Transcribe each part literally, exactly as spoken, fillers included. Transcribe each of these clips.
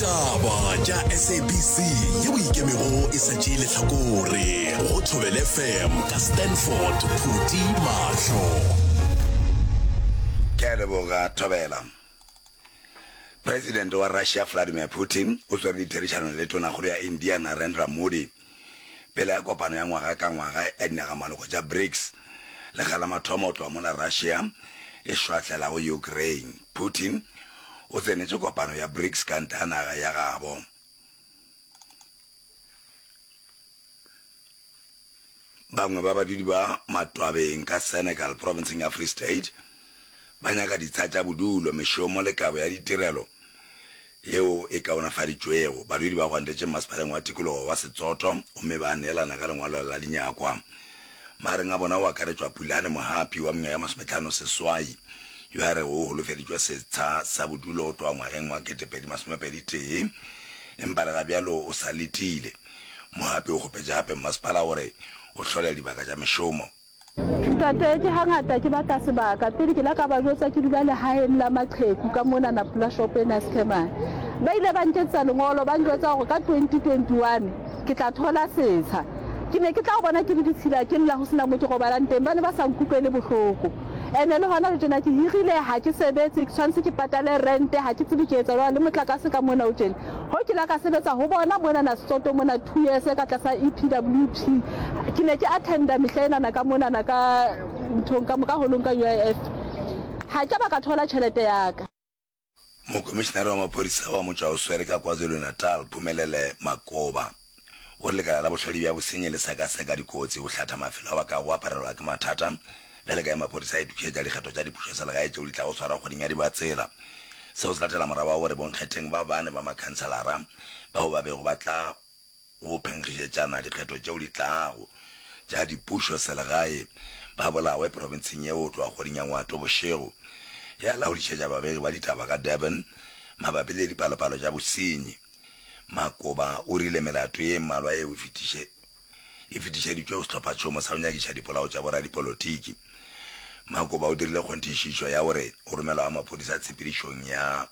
Ditaba tša S A B C yeo ikemego e sa tšee lehlakore go Thobela F M ka Stanford Phuti Mahlo. Ke a leboga, Thobela. Presidente wa Russia Vladimir Putin o swere ditherišano le Tonakgolo ya India Narendra Modi pele ga kopano ya ngwaga ka ngwaga ya dinagamaloko tša BRICS lekga la mathomo go tloga mola Russia e šwahlelago Ukraine. Putin o tsenetše kopano ya BRICS ka ntle ga naga ya gabo. Bangwe ba badudi ba Matwabeng ka Senekal profenseng ya Free State ba nyaka ditsha tša bodulo, mešomo le kabo ya ditirelo yeo e kaonafaditšwego. Badudi ba gwantetše mmasepaleng wa tikologo wa Setsoto gomme ba neelana ka lengwalo la dinyakwa. Magareng a bona go akaretšwa Pulane Mohapi wa mengwaga ye masometlhano seswai yo a rego o holofeditšwe setsha sa bodulo go tloga ngwageng wa ketepedi masomepedi tee empa le ga bjalo o sa letile. Mohapi o kgopetše gape mmasepala gore o hlole dibaka tša mešomo. Ntate, ke hangata ke batla sebaka. Pele ke la ka ba jwetsa ke dula lehaeng la maqheku ka monana pela shopo ena ya Sekhemane. Ba ile ba nketsetsa lengolo ba njwetsa hore ka twenty twenty one ke tla thola setsha. Ke ne ke tla bona ke le ditshila ke lla ho sena mo ke robalang teng. Ba ne ba sa nkutlwele bohloko. Ene le hona le tjena ke hirile ha ke sebetse ke tshwanetse ke patale rente ha ke tsebe ke etsa jwang le motlakase ka mona o tjena. Ho ke la ka sebetsa ho bona monana Setsoto mona two years ka tlasa E P W P. Ke ne ke attenda mehla enana ka monana ka nthong ka ka holong ka U I F. Ha ke ba ka thola tjhelete ya ka. Mokomišenare wa maphodisa wa motšwaoswere ka KwaZulu-Natal, Phumelele Makoba, o re lekala la bohlodi bja bosenyi le sekaseka dikotsi go hlatha mafelo ao a kago aparelwa ke mathata bjale ka ge maphodisa a itokišetša dikgetho tša dipušoselegae tšeo di tlago swarwa kgweding ya Dibatsela. Seo se latela morago ga gore bonkgetheng ba bane ba makhanselara bao ba bego ba tla go phenkgišetšana dikgetho tšeo di tlago tša dipušoselegae ba bolawe profenseng yeo go tloga kgweding ya Ngwato bošego. Ya laodišetša babegi ba ditaba ka Durban mabapi le dipalopalo tša bosenyi. Makoba o rile melato ye mmalwa yeo e fetiše e fetišeditšwe go sehlophatšhomo sa go nyakiša dipolao tša boradipolotiki. Makoba o dirile kgonthišišo ya gore go romelwa ga maphodisa tshepedišong ya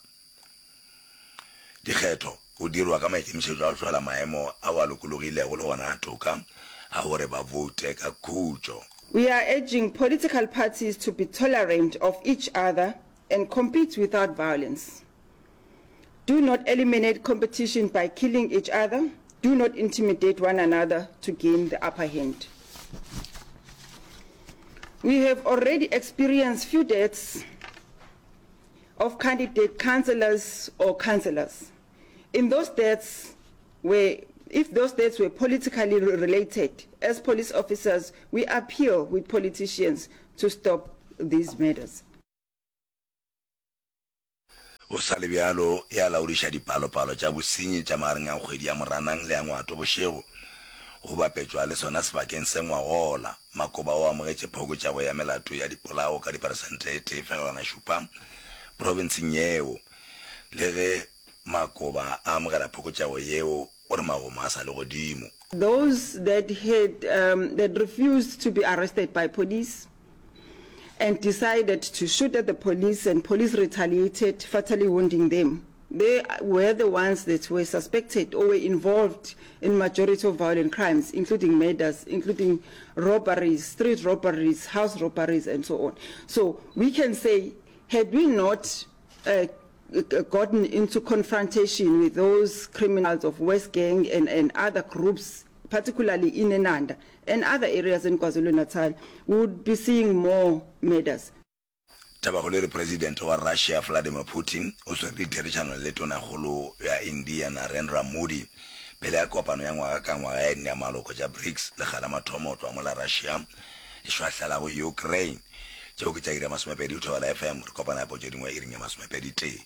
dikgetho go dirwa ka maikemišetšo a go hlola maemo ao a lokologilego le gona a toka a gore ba voute ka khutšo. We are urging political parties to be tolerant of each other and compete without violence. Do not eliminate competition by killing each other. Do not intimidate one another to gain the upper hand. We have already experienced few deaths of candidate councillors or councillors. In those deaths, where if those deaths were politically related, as police officers, we appeal with politicians to stop these murders. Go sa le bjalo, e a laodiša dipalopalo tša bosenyi tša magareng a kgwedi ya Moranang le ya Ngwato bošego go bapetšwa le sona sebakeng se ngwagola. Makoba o amogetše phokotšego ya melato ya dipolao ka diperesente e tee fegelwana šupa profenseng yeo. Le ge Makoba a amogela phokotšego yeo, o re magomo a sa le godimo. Those that had um, that refused to be arrested by police and decided to shoot at the police, and police retaliated, fatally wounding them. They were the ones that were suspected or were involved in majority of violent crimes, including murders, including robberies, street robberies, house robberies, and so on. So we can say, had we not uh, gotten into confrontation with those criminals of West Gang and, and other groups, particularly in Inanda and other areas in KwaZulu-Natal, we would be seeing more murders. Tabakgolo e re Presidente wa Russia Vladimir Putin o swere ditherišano le Tonakgolo ya India Narendra Modi pele ga kopano ya ngwaga ka ngwaga ya dinamaloko tša BRICS lekga la mathomo go tloga mola Russia e šwahlelago Ukraine. Tšeo ke tša iri ya masomepedi go Thobela F M. Re kopana gape go tše dingwe iring ya masomepedi tee.